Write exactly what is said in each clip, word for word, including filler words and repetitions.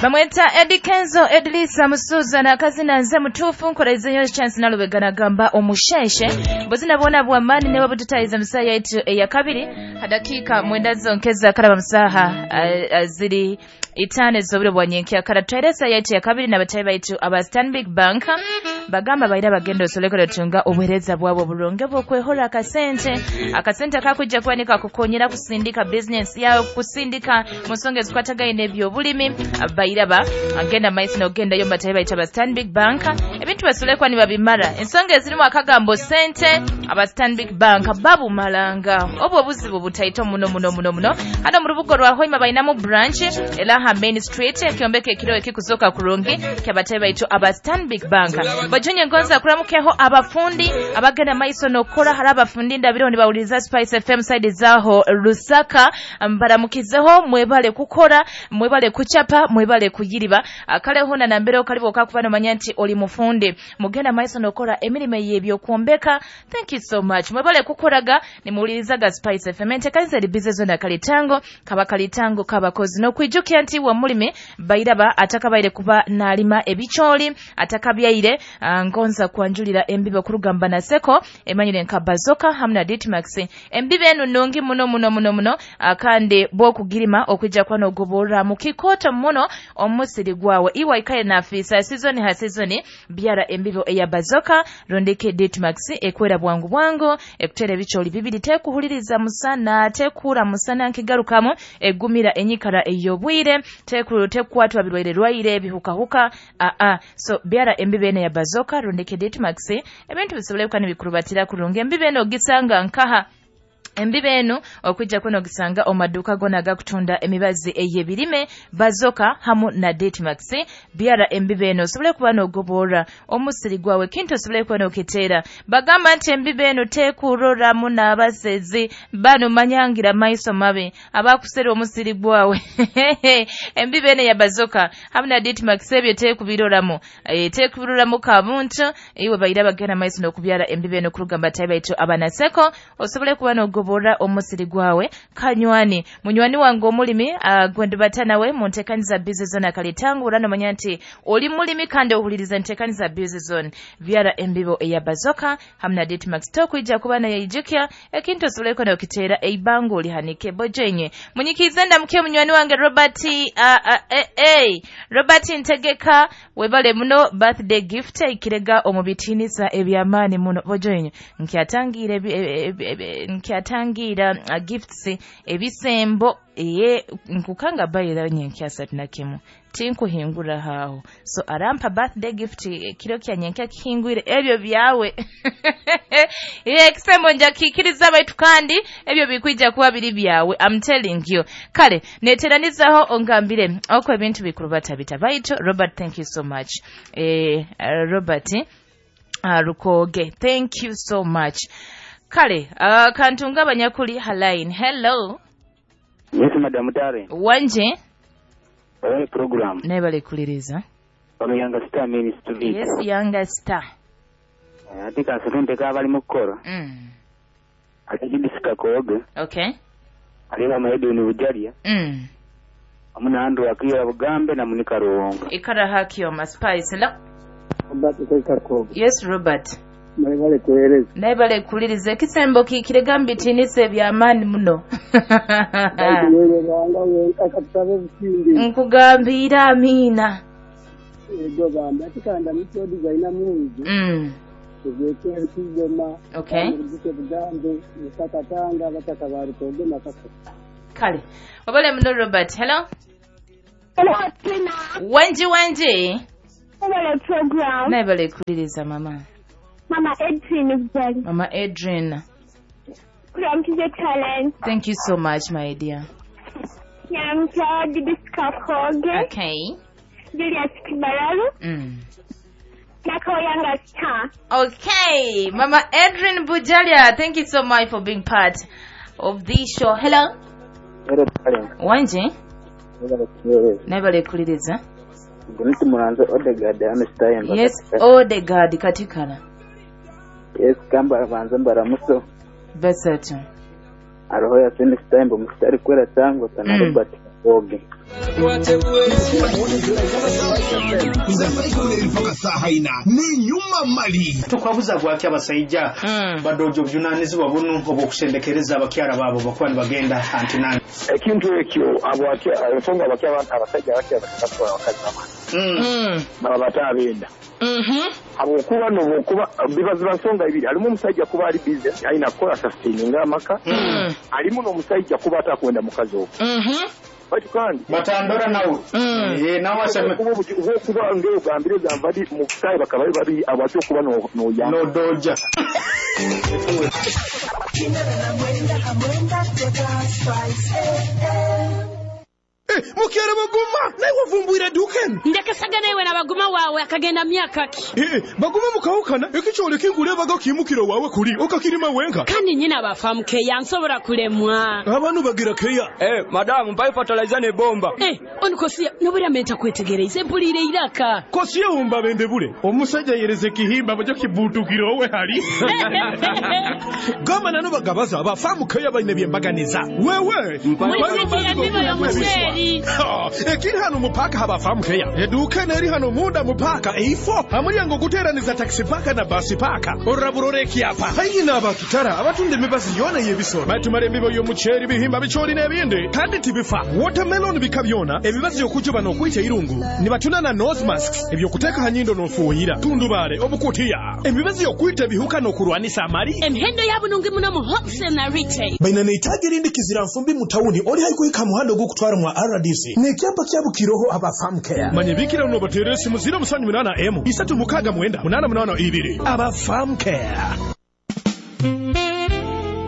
Bamweta Eddie Kenzo Edlisa Musuza na kazina nze mutufu nkola nyo chance nalubega nagamba omusheshe buzina bona bwamani newe bututaiza musaya yetu eya kabiri hadakika mwenda zonkeza karaba musaha ziri itane zobiro bwanyenkia kara tweresa yetu ya kabiri na batayi baitu aba Stanbic Bank bagamba baira bagendo solekero tunga obuhereza bwabo bulonge bwokwehora akasente akasente akakujja kwanika kukonyera kusindika business yao kusindika musonge zikwatagaine ebyobulimi bairaba agenda maisi no genda yo batayi baitu aba Stanbic Bank ebintu basolekwa ni babimara ensonge zirimu akagambo sente aba Stanbic Bank babu malanga obwo buzibu butaito muno muno muno muno hano mu rubugo rwa Hoima bainamu branch elaha Main Street ekyombeke ekiro ekikuzoka kurungi kyabatayi baitu aba Stanbic Bank bajunye ngonza kuramukeho abafundi abagenda maiso nokora hari abafundi ndabiro ni bawuliza Spice F M side zaho Lusaka mbaramukizeho mwebale kukora mwebale kuchapa mwebale kuyiriba akale hona na mbere okalibo okakubano manyanti oli mufundi mugenda maiso nokora emirime yebyo kuombeka. Thank you so much mwebale kukoraga nimuwulirizaga Spice F M entekanisa libize zona kalitango kaba kalitango kabakozi nokwijukia nti wa mulimi bairaba atakabaire kuba nalima ebicholi atakabyaire ngonza kwanjulira embibe kurugamba na seko emanyire nka bazoka hamna Ditmax embibe enu nungi muno muno muno muno akande bwokugirima okwijja kwano gobora mukikota muno omusiri gwawe iwa ikaye na afisa season ha season byara embibe eya bazoka rondeke Ditmax ekwera bwangu bwangu ekutere ebicholi bibiri tekuhuliriza musana tekura musana nkigarukamo egumira enyikara eyobwire tekuru tekwatwa birwaire rwaire bihukahuka a a so byara embibe ene ya bazoka rondeke Ditmax ebintu bisobole ni bikurubatira kurungi embibe eno gisanga nkaha embibe eno okwijja kuno gisanga omaduka gona gakutunda emibazi eyebirime bazoka hamu na Ditmax byara embibe eno osobole kuba n'ogobora omusiri gwawe kintu osobole kuba n'okiteera bagamba nti embibe eno tekuroramu n'abasezi bano manyangira maiso mabi abakusera omusiri gwawe embibe eno ya bazoka hamu na Ditmax ebyo tekubiroramu e, tekubiroramu kabuntu iwe bayira bagenda maiso n'okubyara embibe eno kurugamba tayi baitu abanaseko osobole kuba n'ogobora bora omusiri gwawe kanywani munywani wange omulimi uh, gwendo batanawe mu nteekaniza busy zone akalitangu urano manya nti oli mulimi kandi ohuliriza nteekaniza busy zone byara embibo eya bazoka hamna Ditmax tokwijja kuba naye ijukya ekintu osobole kuba n'okiteera eibango olihanike bojenye munyikize ndamuke munywani wange Robert uh, uh, eh, eh. Robert Ntegeka webale muno birthday gift ikirega omubitinisa ebyamaani muno bojenye nkyatangira nkyatangira uh, gifts ebisembo eye nkukanga bayira nyenkyasa tunakimu tinkuhingura haho so arampa birthday gift kiro kya nyenkya kihingwire ebyo byawe ye kisembo nja kikiriza baitu kandi ebyo bikwija kuba biri byawe I'm telling you kale neteranizaho ongambire oko ebintu bikurubata bita baitu Robert thank you so much eh uh, Robert uh, Rukoge thank you so much kale uh, kantunga abanyakuli halain hello. Yes madam Tare. Wanje Oye program. Nebale kuliriza. Ono Yanga Star Ministry. Yes Yanga Star. Atika asante ka bali mukora. Mm. Atajibisika koge. Okay. Alina maedu ni ujalia. Mm. Amuna andu akira Bugambe na munika Ruwonga. Ikara hakio ma spice la. Robert kweka koge. Yes Robert. Nebale kueleza. Nebale kuliriza ekisembo kikirega mbitinise byamaani muno. Nkugambira amina. Ego bamba tikanda mutyo designer mungu. Mm. Tugeke kigoma. Okay. Bugambe Lusaka bataka barukoge makasa. Kale. Wabale muno Robert. Hello. Hello Tina. Wenji wenji. Hello program. Nebale kuliriza mama. Mama Adrian. Mama Adrian. From the talent. Thank you so much, my dear. Okay. Julius Kibaralu. Mm. Yanga Star. Okay. Mama Adrian Bujalia, thank you so much for being part of this show. Hello. Hello, darling. Wanje? Nebale kuliriza. Yes, Odegaard katikala. Yes, kamba banza mbaramuso. Basatu. Aroho ya Sende Stambo mstari kwera tango sana Mm. Robert Oge. Mpaka saha ina ni nyuma mali tukwabuza gwaki abasaija Mm. badojo obujunanizibwa bunu obwokusendekereza abakyara baabo bakuba nibagenda antinani ekintu ekyo abwaki ensonga abaki abasajja abaki abakatwala abakazi bamwe mm. Mm. baba bataabenda Mhm. habwokuba nobwokuba biba ziba nsonga ibiri alimu omusajja kuba ali busy alina kukola sustaininga amaka Mm. alimu n'omusajja kuba atakwenda mukazi ogwo Mhm. baitu kandi batandora nawe Mm. Eh, nawe aseme okuba obuki- obwokuba ng'ogambire gamba ndi mu butayi bakaba bali babiri abwaki okuba no- n'oyamba nodoja mukyere baguma naye wavumbwira dukeni ndekesagana iwe na baguma wawe akagenda myaka ki Eh, baguma mukawukana ekikyole kinkulebaga kimukiro wawe kuli okakirima wenka kandi nyina bafamukeya nsobola kulemwa abantu bagira keya Eh, madamu mpaye fertilizer ne bomba. Eh, onikosiya nobulya menta kwetegereza empulire iraka kosiye wumba bende bule omusajja yereze kihimba bajo kibutukira owe hali gamba nano bagabaza abafamu keya balina byembaganiza wewe Mulisikira emibo y'omuceeri Ha, ekiri hano mupaka habafamu keya eduka neri hano munda mupaka eifo hamulyango guteraniza taxi paka na basi paka orabulora ekyapa haihi n'abakitara abatunda emibazi yona y'ebisolo batumala emibo y'omuceeri bihimba bicooli n'ebindi kandi tibifa watermelon bika byona ebibazi okujuba n'okwita irungu nibatuna na nose masks ebyokuteeka ha nyindo n'ofuuyira tundubaale obukutiya emibazi y'okwita ebihuka n'okulwanisa amali emihendo yabunungi muno mu wholesale na retail baina neitaji erindi kizira nfumbi mu tawuni oli haikuhika muhanda ogwokutwara mwa R D C n'ekyapa kyabukiroho aba farm care manye bikira uno bateera esimu ziro musanju munana emu isatu mukaaga mwenda munana munana ibiri aba farm care.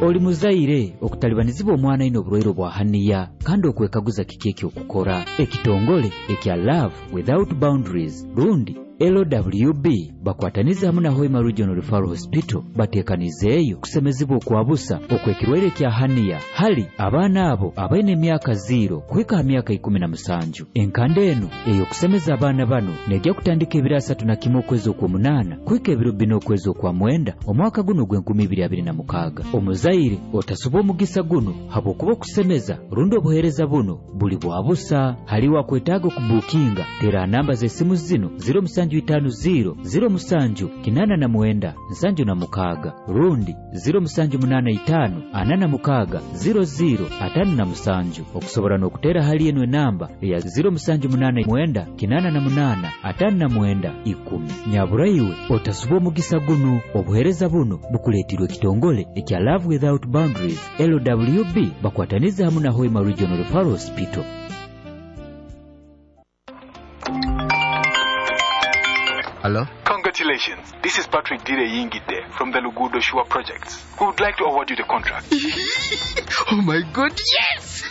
Oli muzaire okutalibanizibwa omwana ino obulwaire bwa haniya kandi okwekaguza kiki ekyokukora ekitongole ekya Love Without Boundaries rundi L W B bakwataniza hamwe na Hoima Regional Referral Hospital batekanizeeyo kusemezibwa okwabusa okwekirwaire kya haniya hali abaana abo abaine emyaka ziro kuhika ha myaka ikumi na musanju. Enkanda eno ey'okusemeza abaana bano nejja kutandika ebiro asatu na kimwe okwezi okw'omunaana kuhika ebiro bina okwezi okwa mwenda omwaka guno ogw'enkumi ibiri abiri na mukaaga. Omuzaire otasuba omugisa guno habwokuba okusemeza rundi obuheereza buno buli bwa busa. Haliwo akwetaaga okubuukinga tera namba z'essimu zino ziro musanju itano ziro ziro musanju kinana na mwenda nsanju na mukaaga rundi ziro musanju munana itano ana na mukaaga ziro ziro atano na musanju. Okusobola n'okutera hali eno enamba eya ziro musanju munana mwenda kinana na munana atano na mwenda ikumi. Nyaburaiwe otasuba omugisa guno. Obuheereza buno bukuleetirwe ekitongole ekya Love Without Boundaries L W B bakwataniza hamwe na Hoima Regional Referral Hospital. Hello? Congratulations. This is Patrick Dire Yingide from the Lugudo Shua Projects. We would like to award you the contract. Oh my God, yes!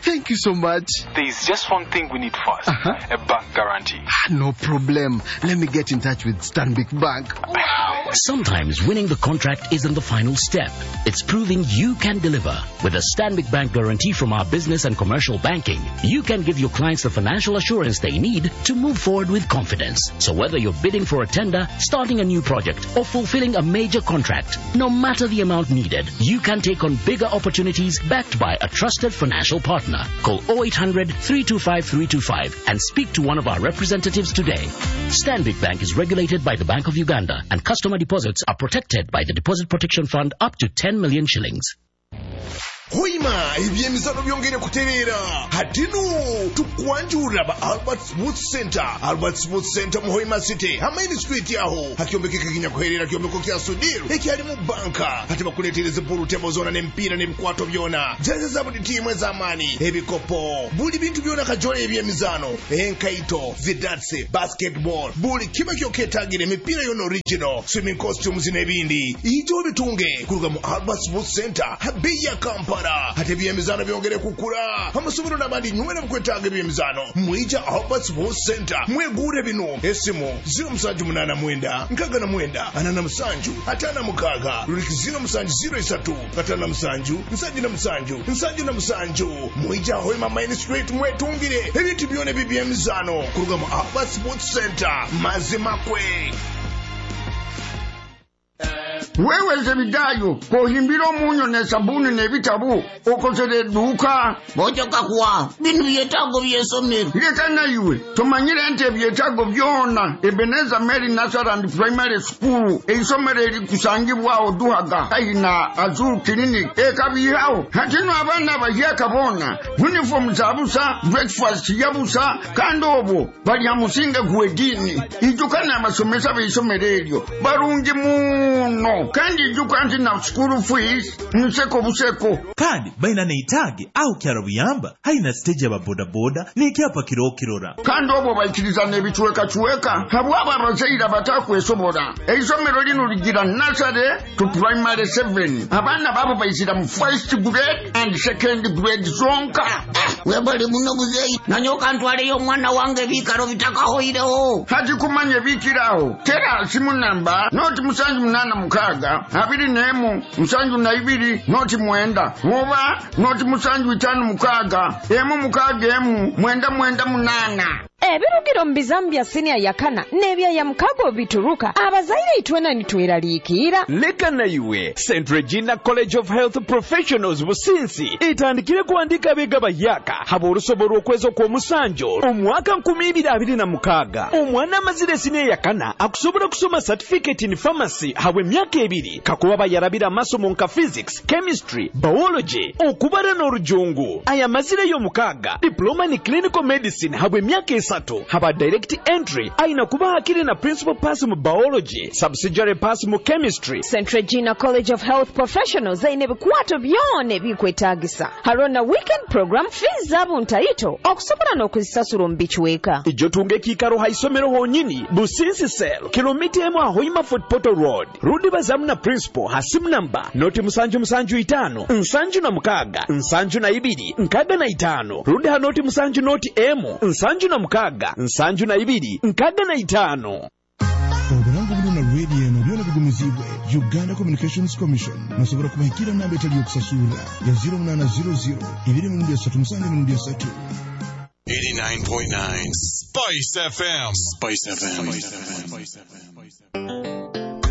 Thank you so much. There is just one thing we need first. Uh-huh. A bank guarantee. No problem. Let me get in touch with Stanbic Bank. Wow. Sometimes winning the contract isn't the final step. It's proving you can deliver. With a Stanbic Bank guarantee from our business and commercial banking, you can give your clients the financial assurance they need to move forward with confidence. So whether you're bidding for a tender, starting a new project, or fulfilling a major contract, no matter the amount needed, you can take on bigger opportunities backed by a trusted financial partner. Call oh eight hundred, three two five, three two five and speak to one of our representatives today. Stanbic Bank is regulated by the Bank of Uganda, and customer deposits are protected by the Deposit Protection Fund up to ten million shillings. Hoima ebyemizano byongere kuterera hatinu tukwanjura ba Albert Smooth Center. Albert Smooth Center mu Hoima City Hamaini Street yaho hakiombekeka kinyakuherera kiombeko kya Sudiru ekyali mu banka hati bakuletereza pool table zona n'emipiira n'ebikwato byona jeze za buli tiimu ez'amaani ebikopo buli bintu byona kajole ebyemizano enkaito zidatse basketball buli kiba kyoketagire emipiira yona original swimming costumes n'ebindi ijo bitunge kuruga mu Albert Smooth Center habeya ya Kampala. Ate ebyemizano byongere kukula amasomero n'abandi nywera mukwetaaga ebyemizano mwija Albert Sports Center mwegure bino esimu ziro musanju munana mwenda nkaga na mwenda ana na musanju atana mukaaga luliki ziro musanju ziro isatu atana na musanju nsanju na musanju nsanju na musanju mwija Hoima Main Street mwetungire ebintu byona ebyemizano kuruga mu Albert Sports Center mazimakwe. Wewe Zebidayo kohimbira omunyo ne sabuni n'ebitabo okozere edduuka. Bojoka kuwa bino byetaago by'essomero. Leka naiwe tomanyire nti ebyetaago byona Ebenezer Mary Nursery and Primary School eisomero erikusangibwawo Duhaga haihi na Azul Clinic ekabihawo. Hatino abaana abahyaka boona uniform za busa, breakfast ya busa, kandi obwo balya musinge gw'eddiini. Ijuka n'abasomesa b'eisomero eryo barungi muno, kandi ijuka nti na school fees nseko buseko. Kandi baina neitaage aho kyaro buyamba haina stage aba bodaboda n'ekyapa kirokirora. Kandi obwo baikiriza n'ebicwekacweka habwabo abazaire abatakwesobola. Eisomero lino ligira nursery to primary seven. Abaana babo baizira mu first grade and second grade zonka. Webale muno muzeeyi, nanyoka ntwaleyo omwana wange ebiikaro bitakahoireho. Hati kumanya ebiikiraho tera simu namba noti musanju munaana mukaaga abiri n'emu musanju na ibiri noti mwenda oba noti musanju itaano mukaaga emu mukaaga emu mwenda mwenda munaana. Ebirugiro mu bizamu bya siniya yakana n'ebya ya mukago bituruka abazaire itwena nitweraliikira. Leka naiwe Saint Regina College of Health Professionals Businsi etandikire kuandika abega bahyaka haba olusobo lw'okwezi okw'omusanjo omwaka nkumi ibiri abiri na mukaaga. Omwana amazire siniya yakana akusobola kusoma certificate in pharmacy habwe emyaka ebiri kakuba bayarabira amasomo nka physics, chemistry, biology, okubara n'orujungu. Aya mazire y'omukaaga diploma ni clinical medicine habwe emyaka esatu haba direct entry aina kuba hakiri na principal pass mu biology, subsidiary pass mu chemistry. Saint Regina College of Health Professionals aine ebikwato byona ebikwetaagisa. Hariho na weekend program, fees zaabo ntaito okusobola n'okuzisasura omu bicweka. Ijo tunga ekiikaro ha isomero honyini Businsi Cell kilomita emu ahoima Fort Portal Road. Rudi bazamu na principal ha simu namba noti musanju musanju itaano nsanju na mukaaga nsanju na ibiri nkaaga na itaano. Rudi ha noti musanju noti emu nsanju na mukaaga nsanju na ibiri nkaaga na itaano. Obulango buno na radio eno byona bigumizibwe Uganda Communications Commission. Musobola kubahikira namba etali yokusasura ya zero munana zero zero ibiri mirundi esatu musanju mirundi esatu. eighty-nine point nine Spice F M. Spice F M. Spice F M.